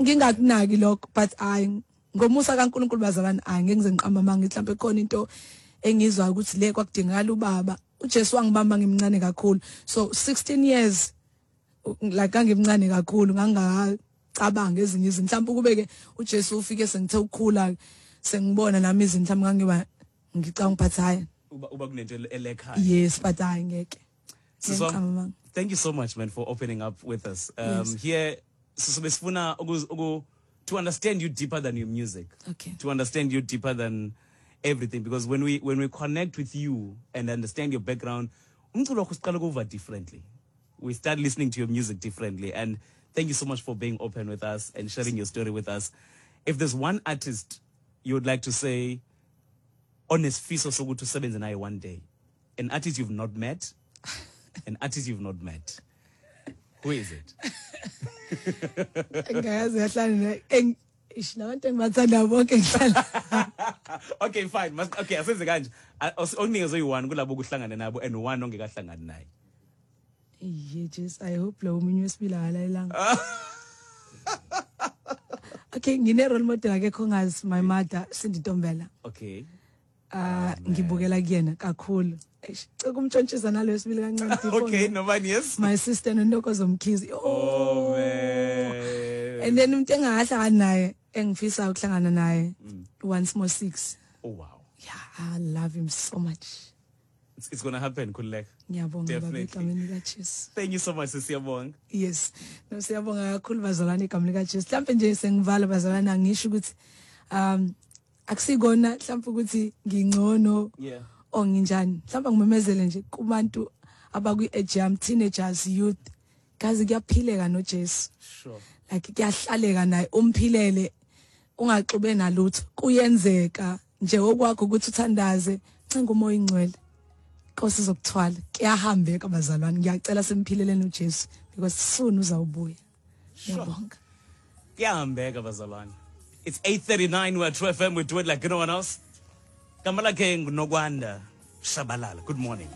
Ngingakunaki lokho, but hayi, ngomusa kaNkulunkulu, bazalwane, hayi, ngeke ngize ngiqamba amanga. Mhlawumbe khona into engizwa ukuthi le kwakudingakala ubaba. UJesu wangibamba ngimncane kakhulu, so 16 years, like ngangimncane kakhulu, ngangacabanga ezinye izinto. Mhlawumbe kube ke uJesu ufike sengithe ukukhula, sengibona nami izinto, mhlawumbe ngangiba ngicanga, but hayi. Uba kunento elekhaya. Yes, but hayi, ngeke. Siswam, Ngiqamba amanga. Thank you so much, man, for opening up with us. Here, sisobe sifuna to understand you deeper than your music. To understand you deeper than everything, because when we connect with you and understand your background, umculo wakho siqala ukuva differently. We start listening to your music differently. And thank you so much for being open with us and sharing your story with us. If there's one artist you would like to say onesifiso sokuthi usebenze naye one day, an artist you've not met, an artist you've not met, who is it? Ngayazi yahlala ish labantu engibathanda bonke ngihlala. Okay, fine. Okay, asenze kanje. Okunikeze oyi-one kulabo okuhlangane nabo and one ongekahlangani naye. Yeah, just I hope lo munye wesibili akalalelanga. Okay, ngine role model akekho ngazi, my mother, Cindy Ntombela. Ngibukela kuyena kakhulu. Eish, cela umtshontshisa nalo wesibili kancane before Okay, nobani, yes. My sister noNtokozo Mkhize. Oh man. And then umuntu engahlangani naye engifisa ukuhlangana naye, Once More Six. Oh wow. Yeah, I love him so much. It's gonna happen, Khululeka. Ngiyabonga, baba. Definitely. Egameni likaJesu. Thank you so much, siyabonga. Yes, no, siyabonga kakhulu, bazalwane, igama likaJesu. Mhlawumbe nje sengivala, bazalwane, angisho ukuthi akusikona mhlawumbe ukuthi ngingcono or nginjani. Mhlawumbe ngimemezele nje kubantu abakwi-age yami, teenagers, youth, kazi kuyaphileka noJesu. Like kuyahlaleka naye, umphilele ungaxube nalutho, kuyenzeka nje. Okwakho ukuthi uthandaze, ncenga uMoya Ingcwele, Nkosi izokuthwala. Kuyahambeka, bazalwane. Ngiyacela simphileleni uJesu because soon uzawubuya. Ngiyabonga. Kuyahambeka, bazalwane. It's 8:39. We're True FM. We do it like no one else. Gama lakhe nguNokwanda Shabalala. Good morning.